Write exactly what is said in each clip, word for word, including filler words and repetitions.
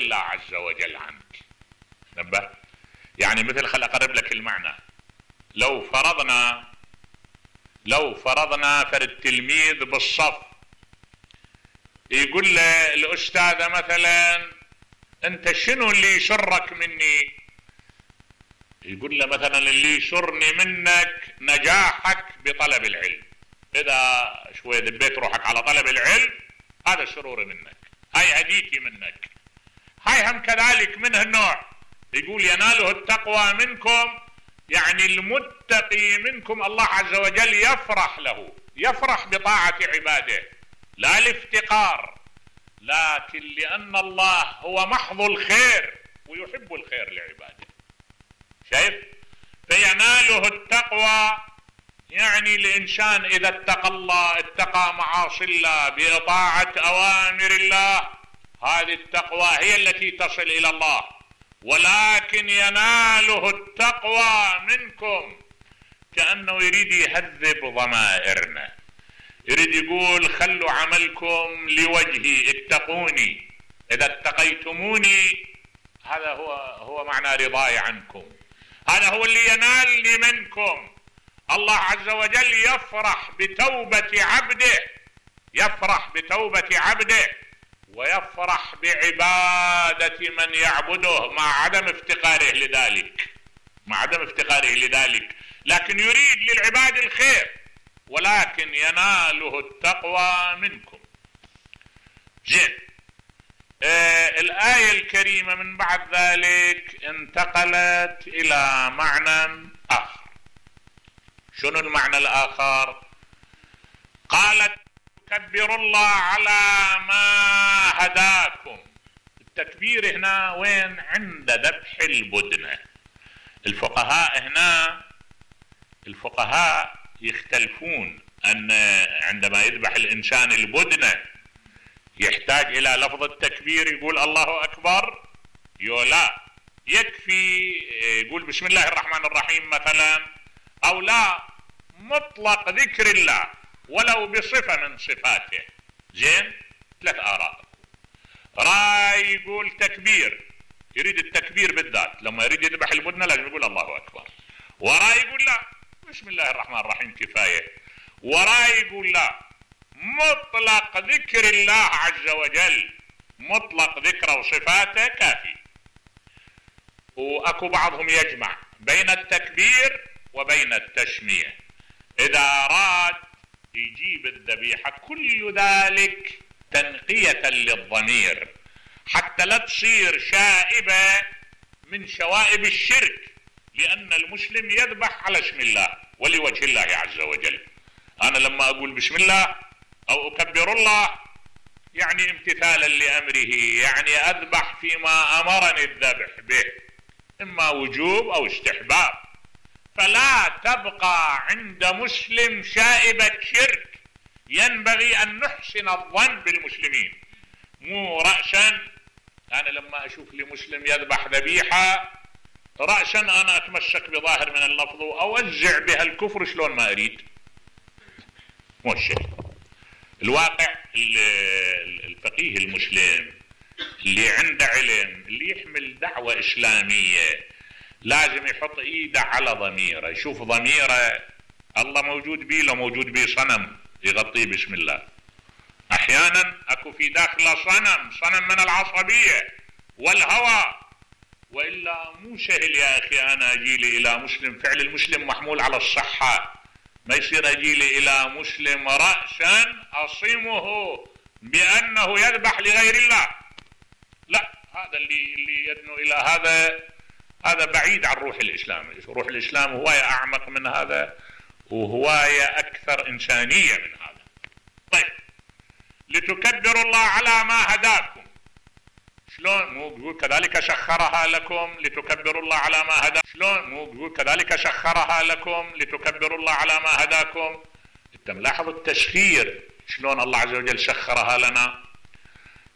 الله عز وجل عنك. نبه يعني مثل خل اقرب لك المعنى. لو فرضنا لو فرضنا فرد تلميذ بالصف يقول له الاستاذ مثلا انت شنو اللي يسرك مني؟ يقول له مثلا اللي يسرني منك نجاحك بطلب العلم، اذا شوي دبيت روحك على طلب العلم هذا سروري منك، هاي هديتي منك. هاي هم كذلك منه النوع، يقول يناله التقوى منكم، يعني المتقي منكم الله عز وجل يفرح له، يفرح بطاعة عباده لا الافتقار، لكن لأن الله هو محض الخير ويحب الخير لعباده. شايف؟ فيناله التقوى، يعني الإنسان إذا اتقى الله اتقى معاصي الله بإطاعة أوامر الله، هذه التقوى هي التي تصل إلى الله. ولكن يناله التقوى منكم، كأنه يريد يهذب ضمائرنا، يريد يقول خلوا عملكم لوجهي، اتقوني، إذا اتقيتموني هذا هو هو معنى رضاي عنكم، هذا هو اللي ينال منكم. الله عز وجل يفرح بتوبة عبده، يفرح بتوبة عبده ويفرح بعبادة من يعبده مع عدم افتقاره لذلك، مع عدم افتقاره لذلك، لكن يريد للعباد الخير، ولكن يناله التقوى منكم. زين. آه الآية الكريمة من بعد ذلك انتقلت إلى معنى آخر. شنو المعنى الآخر؟ قالت كبروا الله على ما هداكم. التكبير هنا وين؟ عند ذبح البدنة. الفقهاء هنا الفقهاء يختلفون أن عندما يذبح الإنسان البدنة يحتاج إلى لفظ التكبير، يقول الله أكبر، يولا يكفي يقول بسم الله الرحمن الرحيم مثلا، أو لا مطلق ذكر الله ولو بصفة من صفاته. زين. ثلاث آراء. راي يقول تكبير، يريد التكبير بالذات، لما يريد يذبح البدنة لازم يقول الله أكبر. وراي يقول لا بسم الله الرحمن الرحيم كفاية. وراي يقول لا مطلق ذكر الله عز وجل، مطلق ذكره وصفاته كافي. وأكو بعضهم يجمع بين التكبير وبين التسمية، إذا أراد يجيب الذبيحة كل ذلك تنقية للضمير حتى لا تصير شائبة من شوائب الشرك، لأن المسلم يذبح على اسم الله ولوجه الله عز وجل. أنا لما أقول بسم الله أو أكبر الله يعني امتثالا لأمره، يعني أذبح فيما أمرني الذبح به، إما وجوب أو استحباب. فلا تبقى عند مسلم شائبة شرك، ينبغي أن نحسن الظن بالمسلمين، مو رأسا أنا لما أشوف لمسلم يذبح ذبيحة رأسا أنا أتمسك بظاهر من اللفظ وأوزع بها الكفر شلون ما أريد. مو الشيء. الواقع الفقيه المسلم اللي عنده علم، اللي يحمل دعوة إسلامية، لازم يحط إيده على ضميره، يشوف ضميره الله موجود بيه لو موجود بيه صنم يغطيه بسم الله. أحيانا أكو في داخله صنم، صنم من العصبية والهوى، وإلا مو سهل يا أخي أنا أجيلي إلى مسلم، فعل المسلم محمول على الصحة، ما يصير أجيلي إلى مسلم رأسا أصمه بأنه يذبح لغير الله. لا، هذا اللي اللي يدنو إلى هذا هذا بعيد عن روح الإسلام. روح الإسلام هواية أعمق من هذا وهواية أكثر إنسانية من هذا. طيب، لتكبروا الله على ما هداكم. شلون؟ مو بيقول كذلك سخرها لكم لتكبروا الله على ما هداكم. شلون؟ مو بيقول كذلك سخرها لكم لتكبروا الله على ما هداكم. انت ملاحظ التسخير شلون الله عز وجل سخرها لنا.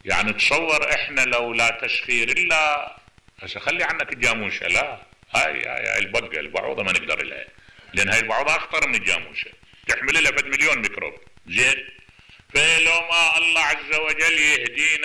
يعني تصور احنا لو لا تسخير الا هسه خلي عنك الجاموسه، لا هاي هاي البقه البعوضه ما نقدر لها، لان هاي البعوضه اخطر من الجاموسه، تحمل لها فد مليون ميكروب. زين. فلو ما الله عز وجل يهدينا